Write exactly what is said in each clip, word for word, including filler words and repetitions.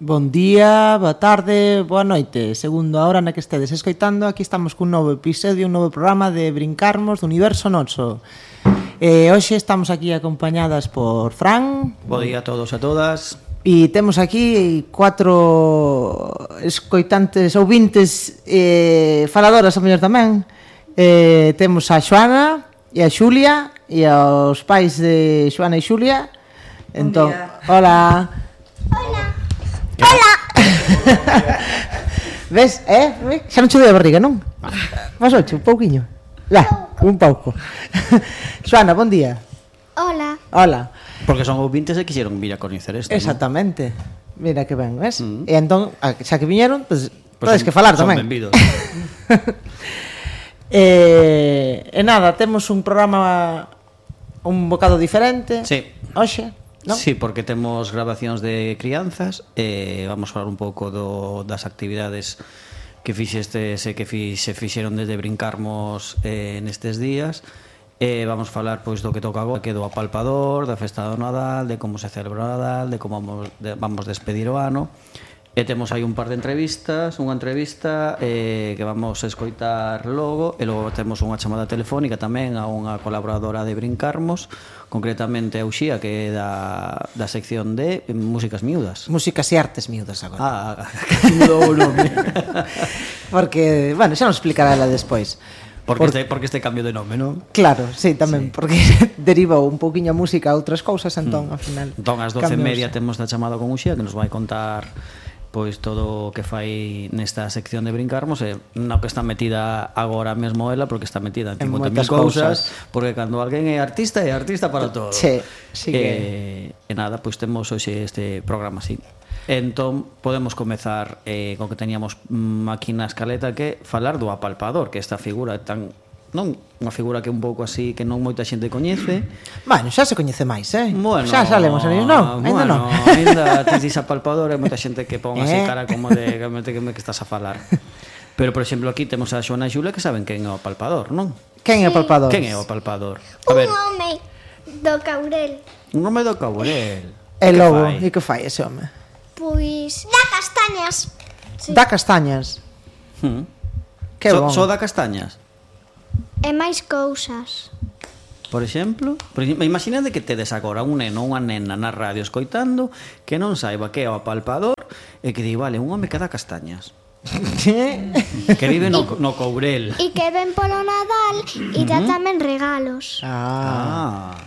Bon día, boa tarde, boa noite. Segundo a hora na que estedes escoitando, aquí estamos cun novo episodio, un novo programa de Brincarmos do Universo Noso. Eh, hoxe estamos aquí acompañadas por Fran. Bo día a todos e a todas. E temos aquí cuatro escoitantes, ouvintes, eh, faladoras a mellor tamén. Eh, temos a Xoana e a Xulia e aos pais de Xoana e Xulia. Entón, hola. Hola. Hola. Ves, eh? Xa non che doi a barriga, non? Vas ocho, un pouquiño. Ya, un pouco. Xoana, bon día. Hola. Hola. Porque son ouvintes e quixeron vir a coñecer isto. Exactamente. ¿No? Mira que ben, ves? Mm. E entón, xa que viñeron, pues, Pues podes son, que falar son tamén. benvidos. eh, e nada, temos un programa un bocado diferente. Sí. Hoxe, non? Sí, porque temos grabacións de crianzas e eh, vamos falar un pouco do, das actividades que fixestes e que fi, se fixeron desde Brincarmos eh, nestes días. Eh, vamos falar pois do que toca agora, que do apalpador, da festa do Nadal, de como se celebra o Nadal, de como vamos, de, vamos despedir o ano. E temos aí un par de entrevistas, unha entrevista eh, que vamos a escoitar logo, e logo temos unha chamada telefónica tamén a unha colaboradora de Brincarmos, concretamente a Uxía, que é da, da sección de Músicas Miúdas. Músicas e artes miúdas agora. Ah, que mudou o nome. Porque, bueno, xa nos explicará ela despois. Porque, Por... este, porque este cambio de nome, non? Claro, sí, tamén, sí. Porque derivou un pouquiño a música a outras cousas, entón, mm. ao final... Entón, ás doce e media temos da chamada con Uxía, que nos vai contar pois todo o que fai nesta sección de Brincarmos, e no que está metida agora mesmo ela, porque está metida en cincuenta mil cousas, porque cando alguén é artista, é artista para todo. Sí, sí que... E, e nada, pois temos hoxe este programa así. Entón, podemos comezar eh, con que teníamos mm, aquí na escaleta, que falar do apalpador, que esta figura tan... non unha figura que un pouco así que non moita xente coñece. Bueno, xa se coñece máis, eh? Bueno, xa salemos en ellos, non? Ainda bueno, non. Ainda ti dis apalpador e moita xente que pon así eh? cara como de que, que, que estás a falar. Pero, por exemplo, aquí temos a Xoana e Xulia que saben quen é o apalpador, non? Quen é o apalpador? Quen é o apalpador? A Un ver, home do Caurel. un home do Caurel. E logo, e que fai ese home? Pois da castañas. Sí. Da castañas. Hmm. Que so, bon. so da castañas. E máis cousas. Por exemplo, por exemplo, imaginade que tedes agora un neno ou unha nena na radio escoitando que non saiba que é o apalpador e que di, vale, un home que dá castañas. Que vive no, no Courel. E que ven polo Nadal e dá tamén regalos. Ah. Ah.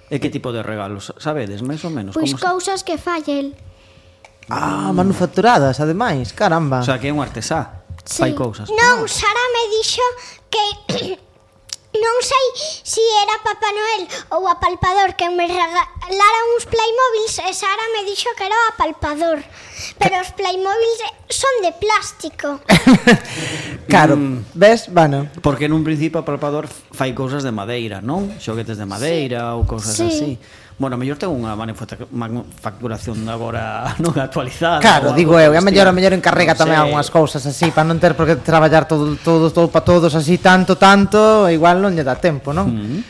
E que tipo de regalos? Sabedes, máis ou menos? Pois Como se... cousas que fai el. Ah, manufacturadas, ademais, caramba. O sea, que é un artesá. Sí. Fai cousas. Non, Sara me dixo que non sei se era Papá Noel ou apalpador que me regalara uns Playmobiles, e Sara me dixo que era o apalpador. Pero os Playmobiles son de plástico. Claro, Mm. ves? Bueno, Porque nun principio o apalpador fai cousas de madeira, non? Xoguetes de madeira ou cousas Sí. así. Bueno, mellor ten unha manufacturación agora non actualizada. claro, ou digo eu, algo a do mellor a estilo. mellor encarrega Non tamén sei. algunhas cousas así, para non ter por que traballar todo todo todo para todos así tanto tanto, igual non lle dá tempo, non? Mm.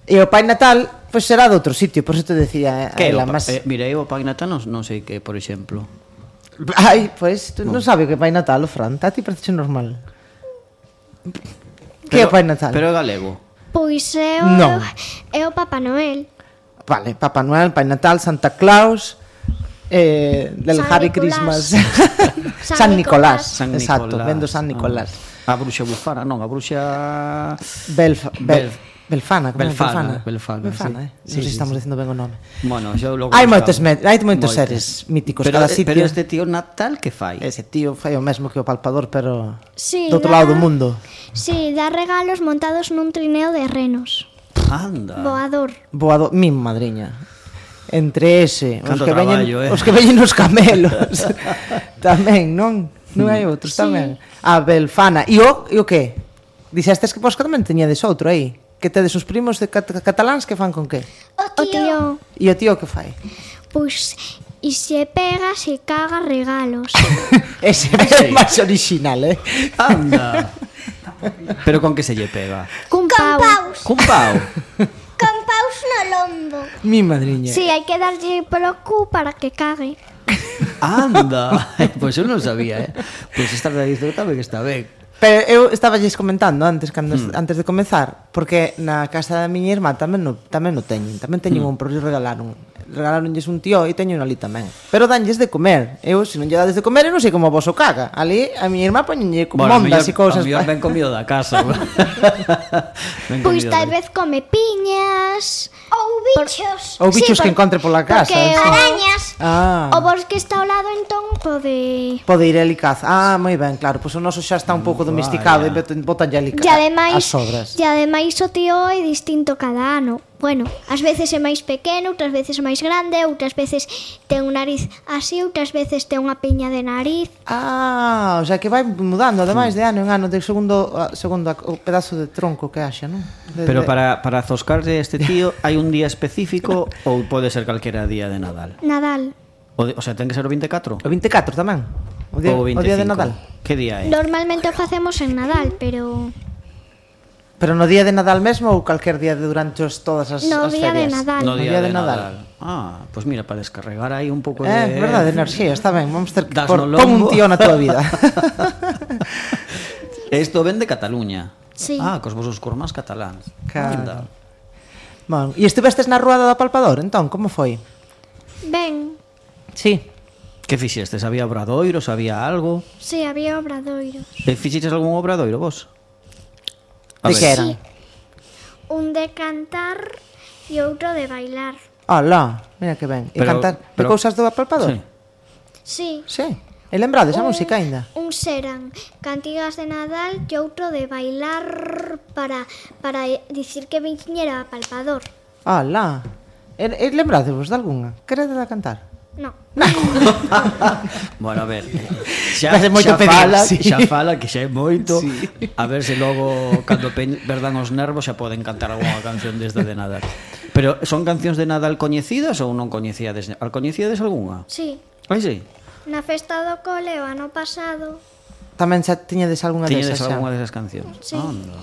E o Pai Natal, pois será de outro sitio, por eso te decía Que é o ela, pa- mas... eh, mira, eu o Pai Natal non, non sei que, por exemplo. Ai, pois, tú non sabes o que é Pai Natal, o Fran, a ti parece normal. Que é o Pai Natal? Pero é galego. Pois é o, Non. é o Papá Noel. Vale, Papá Noel, Pai Natal, Santa Claus, eh, del San Harry Nicolás. Christmas, San San Nicolás, Nicolás. San exacto, Nicolás. vendo San Nicolás. Ah. A bruxa bufana, non, a bruxa... Belfa, Bel, Bel- Belfana, como é? Belfana, Belfana, Belfana, sí. eh? Sí, non sei se sí, estamos sí. dicindo ben o nome. Bueno, yo logo Hai buscaba. moitos, me- hai moitos Moitos. seres míticos Pero, cada eh, sitio. pero este tío Natal que fai? Ese tío fai o mesmo que o palpador, pero Sí, do outro dá- lado do mundo. Sí, dá regalos montados nun trineo de renos. Anda. Voador. Boado, mi madriña. Entre ese, os Canto que veñen, traballo, eh. os que veñen nos camelos. Tamén, non? Non hai outros Sí. tamén. A Belfana. E o, e o que? Dixestes que vos que tamén teñades outro aí. Que tedes os primos de cat cataláns que fan con que? O tío. E o tío que fai? Pois, e se pega, se caga regalos. Ese é máis original, eh? Anda. Pero con que se lle pega? Cun Con pau. paus. Cun pau. Con paus no lombo. Mi madriña. Sí, hai que darlle polo cu para que cague. Anda, pois eu non sabía, eh. Pois esta tradición tamén está ben. Pero eu estaba lles comentando antes cando, mm. antes de comezar, porque na casa da miña irmá tamén no, tamén no teñen, tamén teñen mm. un, pero regalaron regalaronlles un tío e teño un ali tamén. Pero danlles de comer. Eu, se non lle dades de comer, eu non sei como vos o caga. Ali, a miña irmá poñenlle como bueno, mondas e cousas. A mellor ben comido da casa. Pois tal vez come piñas ou bichos. Ou bichos sí, que encontre pola casa. Porque arañas. Ah. O bosque está ao lado, entón pode... Pode ir ali caza. Ah, moi ben, claro. Pois o noso xa está un pouco domesticado e botanlle ali as sobras. E ademais o tío é distinto cada ano. Bueno, ás veces é máis pequeno, outras veces é máis grande, outras veces ten un nariz así, outras veces ten unha piña de nariz. Ah, o sea que vai mudando, ademais de ano en ano, de segundo segundo o pedazo de tronco que haxa, non? De, Pero para, para zoscarse este tío, hai un día específico ou pode ser calquera día de Nadal? Nadal. O, de, o sea, ten que ser o vinte e catro? O vinte e catro tamén? O día, o o día de Nadal? Que día é? Normalmente o facemos en Nadal, pero... Pero no día de Nadal mesmo ou calquer día de durante os, todas as, no as día ferias? De Nadal. No día, no día de, de Nadal. Nadal. Ah, pois pues mira, para descarregar aí un pouco eh, de... É verdade, enerxía, está ben. Vamos ter que por, pon un tío na tua vida. Isto ven de Cataluña. Sí. Ah, cos vosos cormás cataláns. Claro. Bon, e estivestes na ruada do Apalpador, entón, como foi? Ben. Sí. Que fixestes? Había obradoiros, había algo? Sí, había obradoiros. E fixeches algún obradoiro vos? A de ver. Que eran? Sí. Un de cantar e outro de bailar. Alá, mira que ben. E pero, cantar pero, de cousas do Apalpador? Sí. Sí. Sí. E lembrades a música aínda? Un eran cantigas de Nadal e outro de bailar para para dicir que viñera a Apalpador. Alá. E, e lembradevos de algunha? Queredes a cantar? No. Bueno, a ver, xa, xa, fala, sí. xa fala que xa é moito sí. A ver se logo cando perdan os nervos xa poden cantar algunha canción desde de Nadal. Pero son cancións de Nadal coñecidas ou non coñecíades? Coñecíades algunha? Sí. Ai, sí? Na festa do cole o ano pasado tamén xa tiñedes algunha desas? Tiñedes algunha desas cancións? Sí. Anda.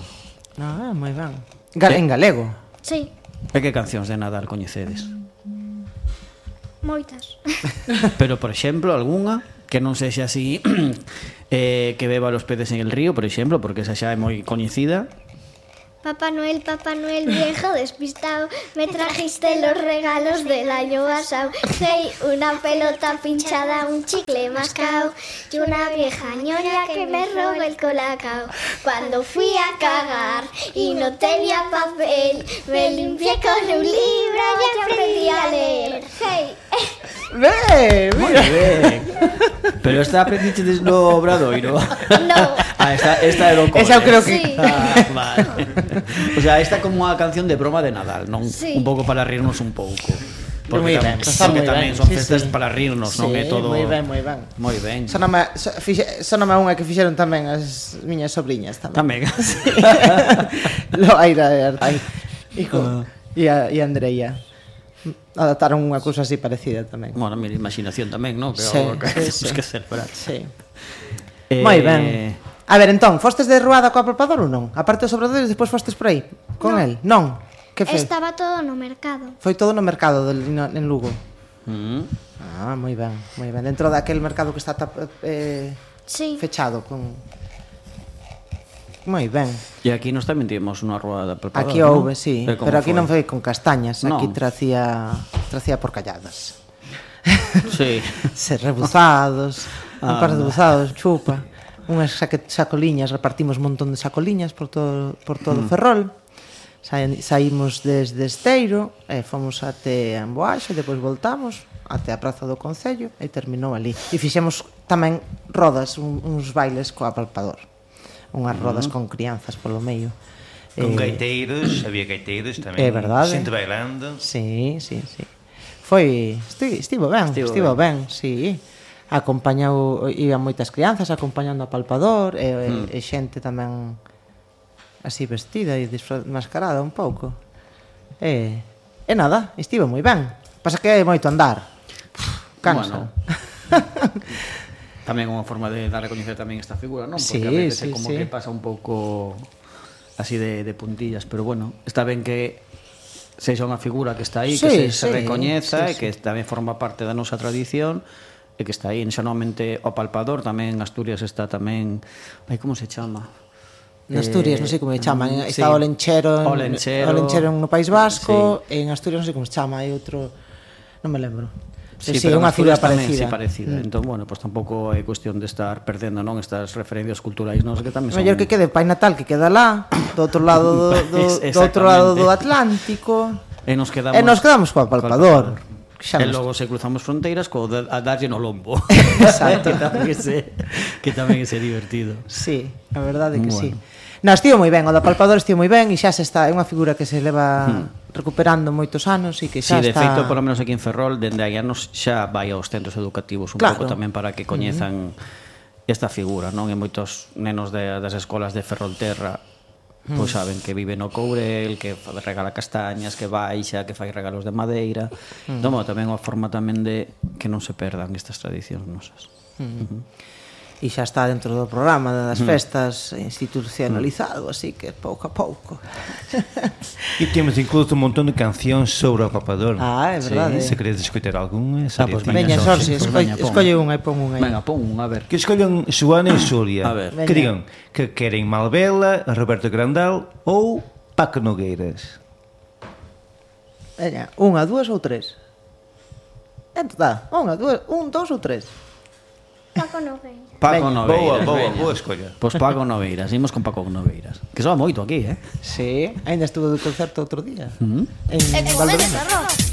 Ah, moi ben. Gal en galego? Sí. E que cancións de Nadal coñecedes? Moitas. Pero, por exemplo, algunha que non sexa así eh, que beba los peces en el río, por exemplo, porque esa xa é moi coñecida. Papá Noel, Papá Noel viejo despistado, me trajiste los regalos del año pasado. Hey, una pelota pinchada, un chicle mascao y una vieja ñoña que me roba el colacao. Cuando fui a cagar y no tenía papel, me limpié con un libro y aprendí a leer. Hey. Ben, moi ben. Pero esta aprendiche no obradoiro? No. Ah, esta, esta era o cole. Esa eu creo que... Sí. Ah, vale. O sea, esta como unha canción de broma de Nadal, non? Sí. Un pouco para rirnos un pouco. Porque moi tamén, ben, está moi tamén ben. son Sí, festas sí. para rirnos, sí, non é todo... moi ben, moi ben. Moi ben. Soname, so, fixe, soname unha que fixeron tamén as miñas sobriñas tamén. Tamén. Loaira e Artai. Hijo, Uh. e a, e a Andreia. Adaptaron unha cousa así parecida tamén. Bueno, mira, imaginación tamén, non? Que Sí, algo que sí, temos sí. que celebrar. Sí. Eh, Moi ben. A ver, entón, fostes de ruada co Apalpador ou non? Aparte dos obradores, despois fostes por aí con No. el? Non. Que foi? Estaba todo no mercado. Foi todo no mercado del, no, en Lugo. Mm. Ah, moi ben, moi ben. Dentro daquel mercado que está tap, eh, Sí. fechado con... Moi ben. E aquí nos tamén tivemos unha ruada de preparador, Aquí houve, sí, E como pero aquí foi? non foi con castañas, Non. aquí tracía tracía porcalladas. Sí. Se rebuzados, un Ah, par de no. buzados, chupa, unhas saque, sacoliñas, repartimos un montón de sacoliñas por todo por todo mm. Ferrol. Sa, saímos desde Esteiro e fomos até Amboaxe, depois voltamos até a Praza do Concello e terminou ali. E fixemos tamén rodas, un, uns bailes co Apalpador. Unhas rodas mm. con crianzas polo medio. Con Eh, gaiteiros, había gaiteiros tamén. É verdade. Xente bailando. Sí, sí, sí. Foi, esti, estivo ben, Estivo estivo, estivo ben. ben, sí. Acompañou, iban moitas crianzas acompañando a Palpador e, mm. e, e xente tamén así vestida e mascarada un pouco. E, e nada, estivo moi ben. Pasa que hai moito andar. Cansa. Bueno. Tamén unha forma de dar a coñecer tamén esta figura, non? Porque Sí, a veces sí, é como sí. que pasa un pouco así de, de puntillas, pero bueno, está ben que sexa unha figura que está aí, Sí, que se, sí, se recoñeza sí, e que sí. tamén forma parte da nosa tradición e que está aí, xeralmente o Palpador, tamén en Asturias está tamén, ai, como se chama? En Asturias, non sei como se chaman, sí. está o Lenchero, O Lenchero. o Lenchero no País Vasco, sí. E en Asturias non sei como se chama, hai outro, non me lembro. Sí, sí, pero unha figura tamén, parecida. Sí, parecida. Mm. Entón, bueno, pues tampouco é cuestión de estar perdendo, non, estas referencias culturais, non, que tamén son... Mellor que quede Pai Natal, que queda lá, do outro lado do, do, do outro lado do Atlántico. E nos quedamos, e nos quedamos co Palpador. E logo se cruzamos fronteiras co de, a darlle no lombo. Exacto. que tamén é se, que tamén é se divertido. Sí, a verdade é que bueno. sí. No, estivo moi ben, o da Palpador estivo moi ben e xa se está, é unha figura que se leva hmm. recuperando moitos anos e que xa sí, está... de feito, polo menos aquí en Ferrol, dende hai anos xa vai aos centros educativos un claro. pouco tamén para que coñezan uh-huh. esta figura, non? E moitos nenos de, das escolas de Ferrolterra mm. pois saben que vive no Courel, que regala castañas, que baixa, que fai regalos de madeira. Mm. Entón, tamén unha forma tamén de que non se perdan estas tradicións nosas. Mm. Uh-huh. E xa está dentro do programa das festas institucionalizado, así que pouco a pouco. E temos incluso un montón de cancións sobre o Palpador. Ah, é verdade. Sí, se queredes escoitar algunha, ah, pues veña, Xorxe, escolle, escolle unha e pon unha aí. Venga, pon unha, a ver. Que escollan Xoana e Xulia. A ver. Que digan que queren Malvela, Roberto Grandal ou Paco Nogueiras. Veña, unha, dúas ou tres? Entón dá, unha, dúas, un, dous ou tres? Paco Nogueiras. Paco Noveiras. Boa, boa, boa escolla. Pois Paco Noveiras, imos con Paco Noveiras. Que soa moito aquí, eh? Sí, ainda estuvo do concerto outro día. Uh -huh. En Valdoviño.